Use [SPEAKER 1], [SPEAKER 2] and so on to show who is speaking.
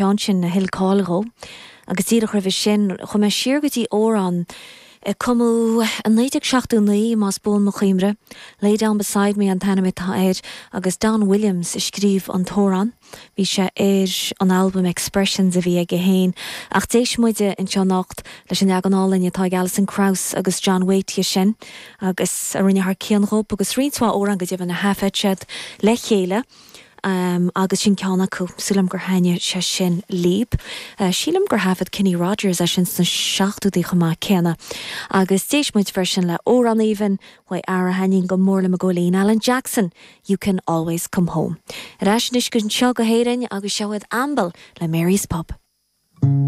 [SPEAKER 1] Ceann sin a thuill cáil dhó. Agus díreach roimhe sin, chuaigh mé siar go dtí amhrán a cumadh i 1979, más buan mo chuimhne. Lay Down Beside Me an t-ainm atá air agus Don Williams a scríobh an t-amhrán. Bhí sé ar an albam Expressions a bhí aige féin. Ach d'éist muide anseo anocht leis an leagan álainn atá ag Alison Krauss agus John Waite dhe sin agus a rinne thar cionn dhób agus roinnt mhaith amhrán go deimhin a thaifead siad le chéile. Agus sin ceann acu. Súil agam gur thaitnigh sé sin libh. Sílim gur thaifead Kenny Rogers é sin sna seachtóidí chomh maith céanna. Agus d'éist muid freisin le amhrán aoibhinn uaidh fhear a thaitníonn go mór liom i gcónaí, Alan Jackson, You Can Always Come Home. Ar ais anois anseo go hÉirinn agus seo iad Amble le Mary's Pub.